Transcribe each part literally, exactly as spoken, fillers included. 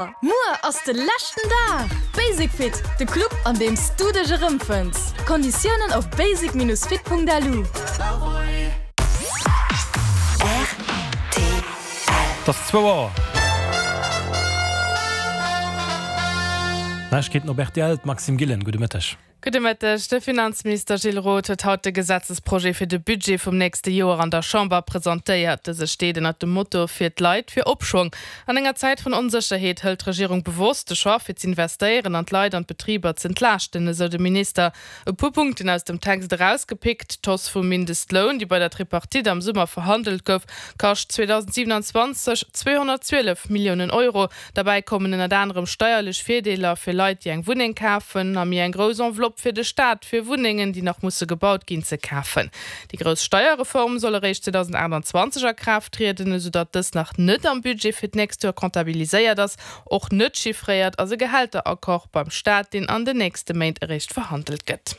Muer ass de leschten Dag! Basic Fit, de Club an deem s du dech erëmfënns. Konditiounen op basic-fit.lu. Et ass zwou Auer. Neiegkeeten op rtl, d'Maxime Gillen, gudde Mëtteg. Gudde Mëtteg. De Finanzminister Gilles Roth huet haut de Gesetzesprojet fir de Budget vum nächste Joer an der Chamber presentéiert. Dëse steet ënnert dem Motto Fir d'Leit, fir Opschwong. An enger Zäit vun Onsécherheet hëlt d'Regierung bewosst de Choix fir z'investéieren an d'Leit an d'Betriber z'entlaaschten, esou de Minister. E puer Punkten aus dem Text erausgepickt, D'Hausse vum Mindestloun, déi bei der Tripartite am Summer verhandelt gouf, kascht zweedausendsiwenanzwanzeg zweehonnertzwielef Milliounen Euro. Derbäi kommen ënnert anerem steierlech Virdeeler fir Leit, déi eng Wunneng kafen, a méi eng grouss Enveloppe fir de Staat, fir Wunnengen, déi nach musse gebaut ginn, ze kafen. Déi grouss Steierreform soll eréischt zweedausendachtanzwanzeg a Kraaft trieden, esou datt dës nach net am Budget fir d'nächst Joer comptabiliséiert ass. Och net chiffréiert ass e Gehälteraccord beim Staat, deen an den nächste Méint eréischt verhandelt gëtt.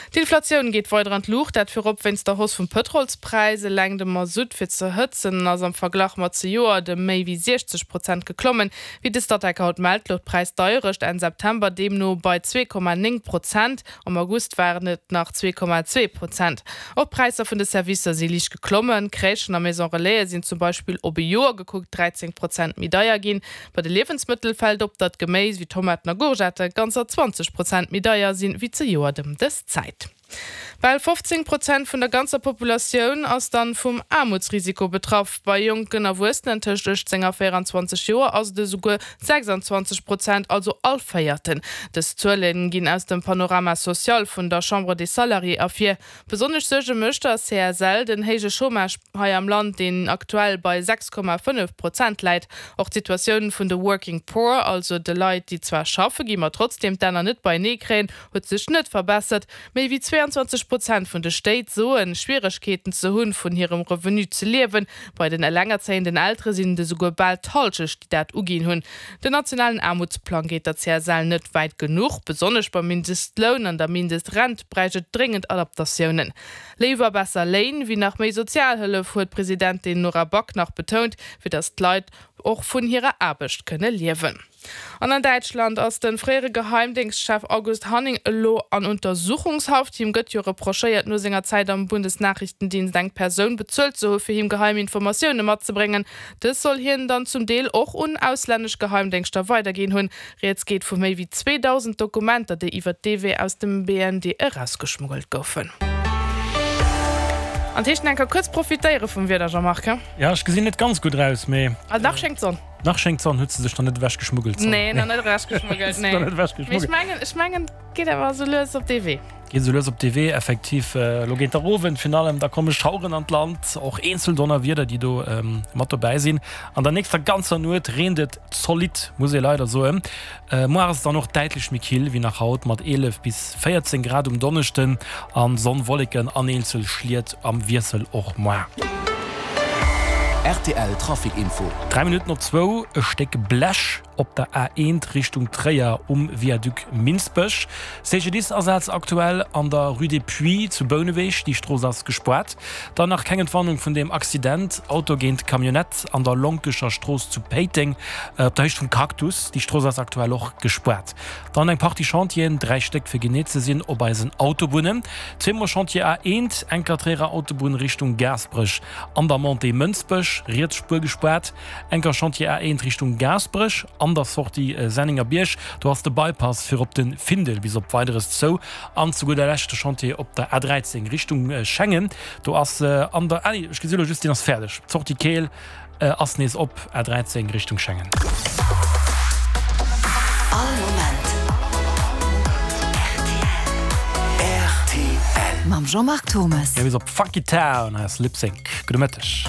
D'Inflatioun geet weider an d'Luucht, dat virop wéinst der Hausse vum Pëtrolspräis. Eleng de Masutt fir ze hëtzen ass am Verglach mat zejoert ëm méi wéi siechzeg Prozent geklommen. Wéi de Statec haut mellt, louch d'Präisdeierecht Enn September deemno bei zwee Komma néng Prozent. Am August waren et nach zwee Komma zwee Prozent. Och d'Präisser vun de Servicer si liicht geklommen. Crèchen a Maison Relaise sinn zum Beispill op e Joer gekuckt dräizéng Prozent méi deier ginn. Bei de Liewensmëttel fält op, datt Geméis wéi Tomaten a Gourgettë ganzer zwanzeg Prozent méi deier sinn, wéi zejoert ëm dës Zäit. Bal fofzéng Prozent vun der ganzer Populatioun ass dann vum Aarmutsrisiko betraff. Bei jonken Erwuessenen tëscht uechtzéng a véieranzwanzeg Joer ass et esouguer sechsanzwanzeg Prozent, also all Véierten. Dës Zuele ginn aus dem Panorama social vun der Chambre des Salariés ervir. Besonnesch Suerge mécht der C S L den héije Chômage hei am Land, deen aktuell bei sechs Komma fënnef Prozent läit. Och d'Situatioun vun de Working Poor, also de Leit, déi zwar schaffe ginn, ma trotzdeem d'Enner net beienee kréien, huet sech net verbessert. Méi wéi zwéianzwanzeg Prozent vun de Stéit soen, Schwieregkeeten ze hunn, vun hirem Revenu ze liewen. Bei den elengerzéienden Eltere sinn et esouguer bal d'Hallschecht, déi dat uginn hunn. Den nationalen Aarmutsplang geet der C S L net wäit genuch. Besonnesch beim Mindestloun an der Mindestrent bräicht et dréngend Adaptatiounen. Léiwer besser Léin wéi nach méi Sozialhëllef, huet d'Presidentin Nora Back nach betount, fir datt d'Leit och vun hirer Aarbecht kënne liewen. An an Däitschland ass de fréiere Geheimdéngschtchef August Hanning elo an Untersuchungshaft. Him gëtt jo reprochéiert, no senger Zäit am Bundesnachrichtendienst eng Persoun bezuelt ze hu fir him geheim Informatioune matzebréngen. Dës soll hien dann zum Deel och un auslännesch Geheimdéngschter weiderginn hunn. Rieds geet vu méi wéi zweedausend Dokumenter, déi iwwer dee Wee aus dem B N D erausgeschmuggelt goufen. An d'heescht enker kuerz profitéiere vum Wieder, Jean-Marc, he? Ja, ech gesinn net ganz gutt aus, mee. Ah, nach schéngt d'Sonn. Nach schéngt d'Sonn, huet se sech nach net ewech geschmuggelt, d'Sonn? Nee, nach net ewech geschmuggelt, nee. Nach net ewech Mee ech geschmuggelt. mengen, ech mengen, geet awer esou lues op dee Wee. Geet esou lues op dee Wee, effektiv. Elo géint der Owend virun allem, da komme Schaueren an d'Land, och eenzel Donnerwieder, déi do mat dobäi sinn. An der nächster ganzer Nuet reent et zolidd, muss ee leider soen. Muar ass et dann och däitlech méi kill wéi nach haut, mat eelef bis véierzéng Grad um Donneschden a Sonn, Wolleken an eenzel Schliet am Wiessel och muar. R T L Trafic Info. Dräi Minutten op zwou, E Stéck Blech op der A eent Richtung Tréier um Viaduc Minsbech. C G D I S-Asaz aktuell an der Rue des Puits zu Bouneweg, déi Strooss ass gespaart. Dann nach keng Entwarnung vun deem Accident, Auto géint Camionnette an der Lonkecher Strooss zu Péiteng op der Héicht vum Cactus, déi Strooss ass aktuell och gespaart. Dann eng Partie Chantieren, dräi Stéck fir genee ze sinn, op eisen Autobunnen. Zweemol Chantier A eent, enker Tréierer Autobunn Richtung Gaasperech an der Montée Mënsbech, riets Spuer gespaart. Enker Chantier A eent Richtung Gaasperech an der Sortie Sennengerbierg, do ass de Bypass fir op de Findel bis op Weideres zou. An zu gudder Lescht de Chantier op der A dräizéng Richtung Schengen, do ass an der, ah nee, ech gesi lo just, deen ass fäerdeg, d'Sortie Keel ass nees op, A dräizéng Richtung Schengen. All Moment R T L. Mam Jean-Marc Thomas. Mir bis op Funky Town, hei ass Lipsync. Gudde Mëtteg.